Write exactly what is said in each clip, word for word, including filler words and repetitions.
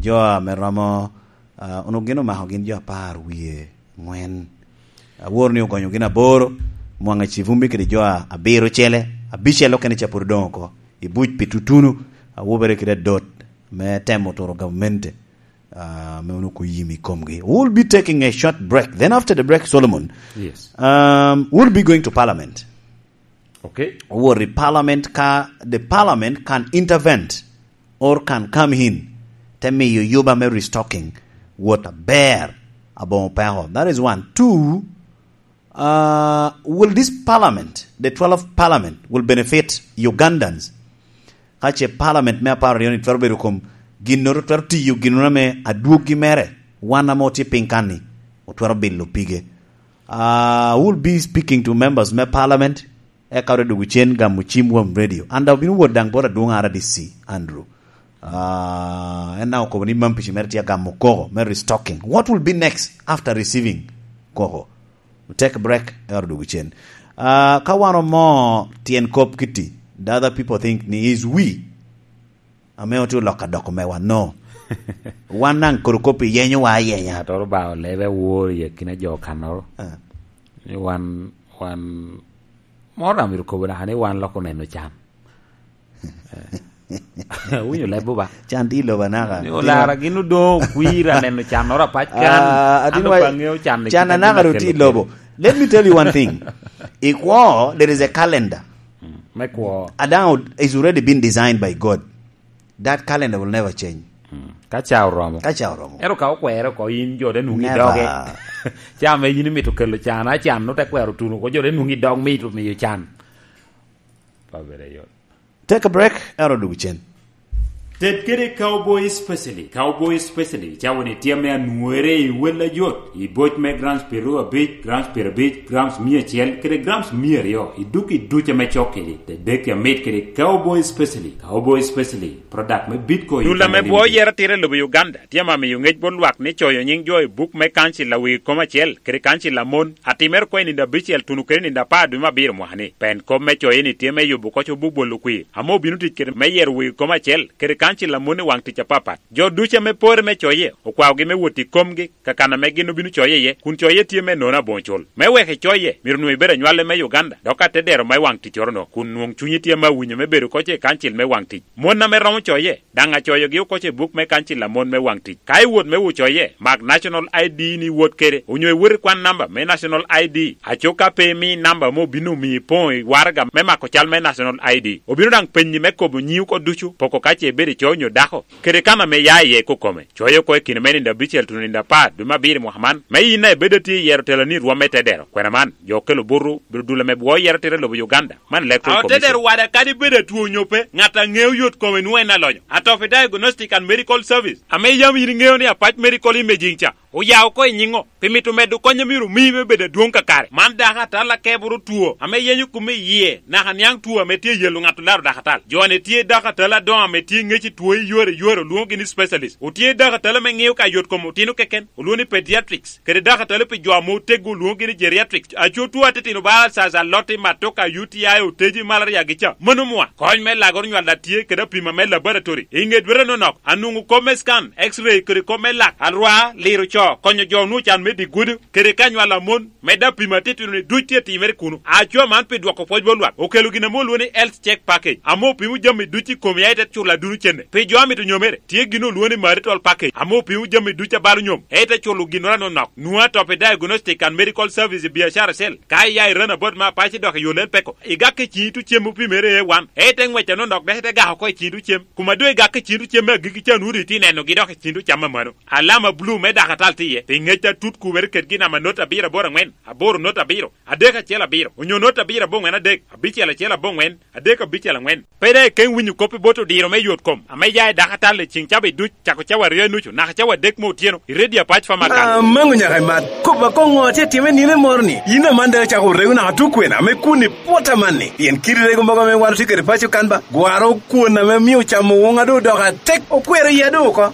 Jo ame romo, ah, onwoŋo gin omako gin jo apar wie ŋwen. Awor ni ogonyo gin aboro, mwaŋ acivumbi kede jo a-, abiro cele, abicel okene ca pwod odoŋ oko. I buc pi tutunu, awobere kede adot me temo turo gamente, ah, me onwoŋo oyim i komgi. We'll be taking a short break. Then after the break, Solomon, Yes. um, we'll be going to parliament. Okay. Wot i parliament ka the parliament can intervene or can come in, te miyo yuba me restocking wot aber aboŋo peko. That is one. Two, uh, will this parliament, the twelfth parliament, will benefit Ugandans? Ka ce parliament me apar aryo ni twero bedo kom ginnoro, twero tiyo ginnoro ame adwoggi mere, wan ame otye piny kan-ni, otwero bilo pige. Uh, we'll be speaking to members me parliament, eka ote dwogo cen gamo cim won radio. An daŋ obino wot daŋ bot adwoŋ R D C, Andrew. Ah, en daŋ okobo ni mampici mere tye agamo koko, me restocking. What will be next after receiving koko? Take a break, eka ote dwogo cen. Ah, ka wan omo tyen kop kitti, the other people think ni is we. Ame otye oloko adoko mewa, no. Wan daŋ kodi kop iyenyowa ayenya. Ŋattoro ba olebe awor i akina jo kannoro. Ah. Ni wan, wan, moro daŋ myero kobo naka ni wan lok oneno can. Eh. Winyo leb ba? Can tye i lobo anaka. Ni olara gin odoŋ okwir aneno cannoro apac kan. Ah, an atino dok wa-, aŋeo can i can kite anaka gin ro tye i akelo lobo. Let me tell you one thing. I kwo, there is a calendar. Mm, me kwo. Adaŋo is already been designed by God. That calendar will never change. Mm. Ka ca oromo. Ka ca oromo. Ero ka okwere oko, in jo te nwoŋo i doge. Never. Ca ame in imito kelo can, acan, no te kwero tuno oko, jo te nwoŋo i dog mito miyo can. Pa bere yot. Take a break, ero dwogo cen. Ted kede Cowboy Specially. Cowboy Specially, cawa ni tye ame anwore i wel ajot, i boc me grams piero abic, grams piero abic, grams mia acel, kede grams mia aryo, i duk i duc ame cok kedi. Tedek amit kede Cowboy Specially. Cowboy Specially, product me Bitco. Dul ame bwo yero tira i lobo Uganda, tye ame amiyo ŋec bot lwak ni coyo nyiŋ jo i buk me kancil a wegi kom acel, kede kancil a mon, atimere oko i nino abicel tuno kede nino apar dwe me abiro mwaka ni. Pen kop me coye ni tye me yubo koc obuk bolo kwir, ame obino tic kede me yero wegi kom acel, kede kancil a mon i waŋ tic apapat. Jo ducu ame pore me coye, okwaogi me wot i komgi, kakan ame gin obino coye iye, kun coye tye me nono aboŋo cul. Me wek icoye, myero onwoŋo ibed anywale me Uganda, dok atedero me waŋ ticcoro-no, kun nwoŋ cunyi tye ame awinyo me bedo koc i kancil me waŋ tic. Mon ame romo coye, daŋ acoyogi oko i buk me kancil a mon me waŋ tic. Ka iwot me wo coye, mak National I D ni iwot kede, onyo iwot i kwan namba me National I D, aco ka pe imi namba ame obino omiyo ipoŋo i waraga me mako cal me National I D. Obino daŋ penyi me kobo nyiŋi oko ducu, poko ka ce ibedo i coyo onyo dako, kede kan ame ia iye i kokome. Coyo oko i kine me nino abicel tuno nino apar dwe me abiro i mwaka man, me in a ibedo atye i yero teloni i rwom me tedero. Kwena man, jo okelo buto, bedo dul ame bwo yero tira i lobo Uganda. Man Electoral Commission. Otedero wada kadi bedo atwo onyo pe, ŋat a ŋeo yot kome nwoŋo en alonyo. Atofi Diagnostic and Medical Service, ame yam in iŋeo ni Apac Medical Imaging ca, oya oko i nyiŋo, pi mito medo kony a myero omii me bedo adwoŋ kakare. Man dako atal akeboro two, ame yenyo kome i yie, naka niaŋ two ame tye yelo ŋat olaro dako atal. Jo-ni tye dako atal adoŋo ame tye ŋec i two i yore i yore, olwoŋogi ni specialist. Otye dako atal ame ŋeo ka yot kom otino keken, olwoŋo ni pediatrics. Kede dako atali pi jo ame oteggo olwoŋogi ni geriatric. Aco two atitino bala alsas, aloti, matoka, U T I, oteji, malaria gi ca. Mano mwa. Kony me lagoro nywal a tye kede apima me laboratory. I ŋe dwete nonok, anwoŋo kop me scan, X-ray kede kop me lak, alwar, liro co, konyo jo onwoŋo can me dye gudo, kede ka nywal a mon, medde apima atitino ni duc tye timere kuno. Aco man pi dwoko pwoc bot lwak, okelo gin ame olwoŋo ni health check package, ame opimo jami duc i komi, aye te culo aduno cene. Pi jo amito nyomere, tye gin olwoŋo ni marital package, ame opimo jami duc a balo nyom, ete culo ginnoro anonok. Nwoŋo atop i Diagnostic and Medical Service i biacara cell. Ka iya i Ranabot me Apac idok i Yolel Peko, igak i ciŋi tucem opimere A one, ete ŋwec anonok dok ite gak oko i ciŋi tucem. Kuma doŋ igak i ciŋi tucem me agikki ca, nwoŋo doŋ itye nenogi dok i ciŋi tucam amano. Alama bulu me dakatal tye iye, pi ŋec atut kubere kedgi namba not abiro aboro aŋwen, aboro not abiro, adek acel abiro, onyo not abiro aboŋwen adek, abicel acel aboŋwen, adek abicel aŋwen. Pe daŋ ikeŋ winyo kop i bot odiro me yot kom ame ya i dakatal i ceŋ cawa duc, cako cawa aryo i nucu naka cawa adek me otyeno i redio Apac Farmers Council. Amaŋo nyaka i mat. Kop akoŋ ŋo atye atime nino moro ni? Yin aman daŋ icako rego naka tukwena ame kun i pwot amanni? Pien kit rego mogo ame wan otye kede paco kan ba, gwaro kwon ame mio camo woŋa doŋ odoko atek, okwero iya doŋ oko.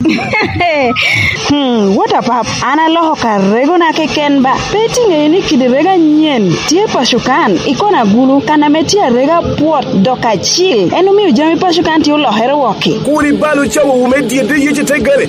Hmm, what a pap. An aloko ka regona keken ba. Pe itye ŋeyo ni kidi rego anyen tye paco kan, i kona agulu, kan ame tye arega pwot dok acil. En omio jami paco kan tye olokere wok-ki. Kur ibal ocawawu me dyedde yec i te gare,